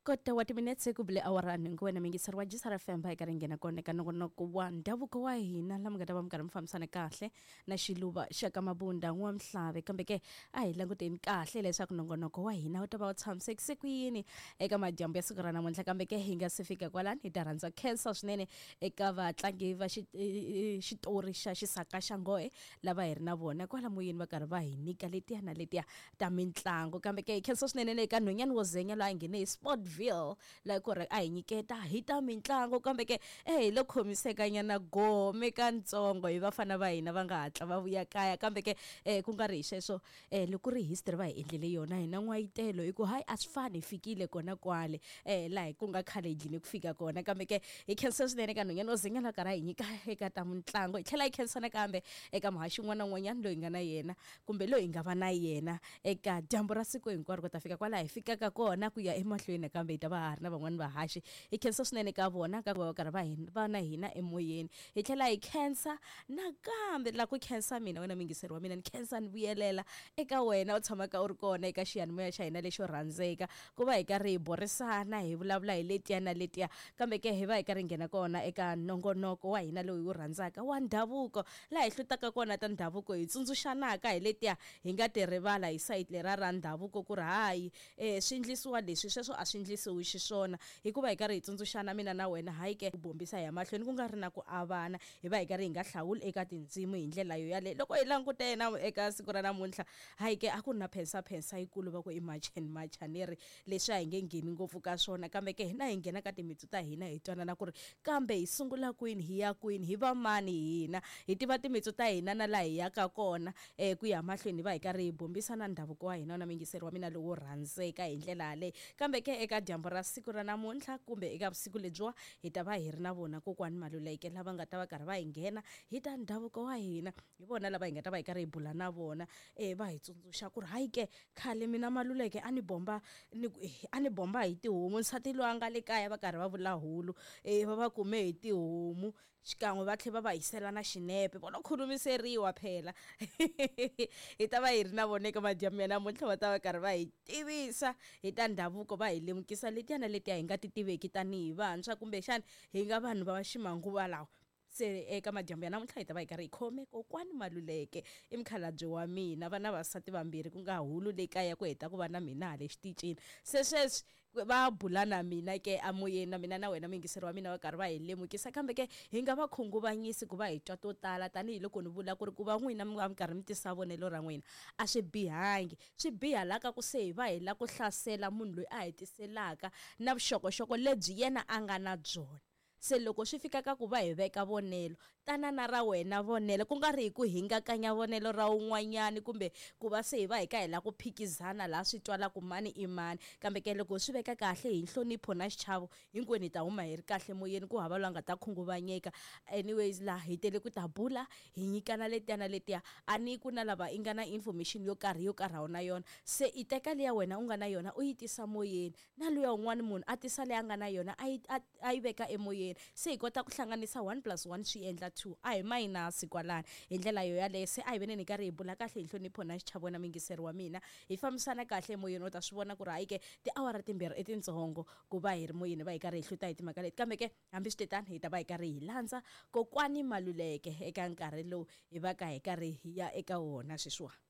Kota wa timinetse ku bile awara nhungu wena muyingiseri wa Jisara FM va hi karhi nghena kona eka nongonoko wa ndhavuko wa hina la mi nga ta va mi karhi mi fambisana kahle na xiluva xa ka Mabunda n'wamhlave kambe ke a hi languteni kahle leswaku nongonoko wa hina wu ta va wu tshamisekise ku yini eka madyambu ya siku ra namuntlha kambe ke hi nga se fika kwalani hi ta rhandza khensa swinene eka vatlangi va xitori xa xisaka xa nghohe lava hi ri na vona kwala moyeni va karhi va hi nyika letiya na letiya ta mintlangu kambe ke hi khensa swinene le ka nhwanyana wo zenya loyi a nghene hi Sportville laha ku ri a hi nyiketa hi ta mintlangu kambe ke e hi lo khomisekanyana gome kantsongo hi vafana va hina va nga hatla va vuya kaya kambe ke ku nga ri hi sweswo loko ku ri history va hi endlele yona hina n'wayitelo hi ku hayi a swi fani hi fikile kona kwale laha ku nga khale hi dlini ku fika kona kambe ke hi khensa swinene ka nhwanyana wo zenya loyi a karhi a hi nyika eka ta mitlangu hi tlhela hi khensa nakambe eka muhaxi un'wana na un'wanyana loyi hi nga na yena kumbe loyi hi nga va na yena eka dyambu ra siku hinkwaro ku ta fika kwalaha hi fikaka kona ku ya emahlweni nakambe hi ta va ha ri na van'wani vahaxi hi khensa swinene ka vona ka ku va va karhi va va na hina emoyeni hi tlhela hi khensa nakambe la ku khensa mina wena muyingiseri wa mina ni khensa ni vuyelela eka wena u tshamaka u ri kona eka xiyanimoya xa hina lexo rhandzeka ku va hi karhi hi burisana hi vulavula hi letiya na letiya kambe ke hi va hi karhi hi nghena kona eka nongonoko wa hina lowu hi wu rhandzaka wa ndhavuko Laha hi hlutaka kona ta ndhavuko hi tsundzuxanaka hi letiya hi nga ti rivala hi sayiti leriya ra ndhavuko ku ri hayi e swi ndlisiwa leswi sweswo a swi ndlisiwi xiswona hikuva hi karhi hi tsundzuxana mina na wena hayi ke ku bombisa hi ya mahlweni ku nga ri na ku avana hi va hi karhi hi nga hlawuli eka tindzimu hi ndlela yo yaleyo loko hi langute na eka siku ra namuntlha hayi ke a ku ri na phensaphensa yikulu va ku i march and march a ni ri Leswi a hi nge ngheni ngopfu ka swona, kambe ke hina hi nghena ka timitsu ta hina hi twanana ku ri kambe hi sungula kwini, hi ya kwini, hi va mani hina, hi tiva timitsu ta hina na laha hi yaka kona. Ku ya mahlweni hi va hi karhi hi bombisa na ndhavuko wa hina na muyingiseri wa mina lowo rhandzeka hi ndlela yaleyo. Kambe ke eka dyambu ra siku ra namuntlha kumbe eka vusiku lebyiwa hi ta va hi ri na vona kokwani Maluleke lava nga ta va karhi va hi nghena hi ta ndhavuko wa hina. Hi vona lava hi nga ta va hi karhi hi bula na vona va hi tsundzuxa ku ri hayi ke Khale mina Maluleke a ni bomba ni ku a ni bomba hi tihomu nsati loyi a nga le kaya va karhi va vula hulu va va kume hi tihomu xikan'we va tlhela va va hisela na xinepe vo lo khulumiseriwa phela hi ta va hi ri na vona eka madyambu ya namuntlha va ta va karhi va hi tivisa hi ta ndhavuko va hi lemukisa letiya na letiya hi nga ti tiveki tanihi vantshwa kumbexana hi nga vanhu va ximanguva lawa. Se eka madyambu ya namuntlha hi ta va hi karhi hi khome kokwani Maluleke i mukhalabye wa mina va na vasati vambirhi ku nga hulu le kaya ku heta ku va na mina hale xitichini se sweswi va bula na mina ke emoyeni na mina na wena muyingiseri wa mina va karhi va hi lemukisa kambe ke hi nga va khunguvanyisi ku va hi twa to tala tanihiloko ni vula ku ri ku va n'wina mi va mi karhi mi tisa vonelo ra n'wina a swi bihangi swi biha la ka ku se hi va hi la ku hlasela munhu loyi a hi tiselaka na vuxokoxoko lebyi yena a nga na byona. Se loko swi fika ka ku va hi veka vonelo, tana na ra wena vonelo, ku nga ri hi ku hingakanya vonelo ra un'wanyana kumbe ku va se hi va hi ka hi lava ku phikizana laha swi twalaka mani i mani. Kambe ke loko hi swi veka kahle hi nhlonipho na xichavo, hinkwenu hi ta huma hi ri kahle moyeni ku hava loyi a nga ta khunguvanyeka. Anyways laha hi tele ku ta bula, hi nyikana letiya na letiya. A ni ku na lava i nga na information yo karhi yo karhi a wu na yona, se i teka liya wena u nga na yona u yi tisa moyeni. Na luya un'wana munhu a tisa leyi a nga na yona a yi a a yi veka emoyeni. Se hi kota ku hlanganisa one plus one swi endla two. A hi mayinasi kwalano. Hi ndlela yo yaleyo se a hi veneni hi karhi hi bula kahle hi nhlonipho na xichavo na muyingiseri wa mina. Hi fambisana kahle emoyeni u ta swi vona ku ri hayi ke tiawara timbirhi i tintsongo ku va hi ri moyeni hi va hi karhi hi hluta hi timhaka leti. Kambe ke hambiswitetano hi ta va hi karhi hi landza kokwani Maluleke eka nkarhi lowu hi va ka hi karhi hi ya eka wona sweswiwani.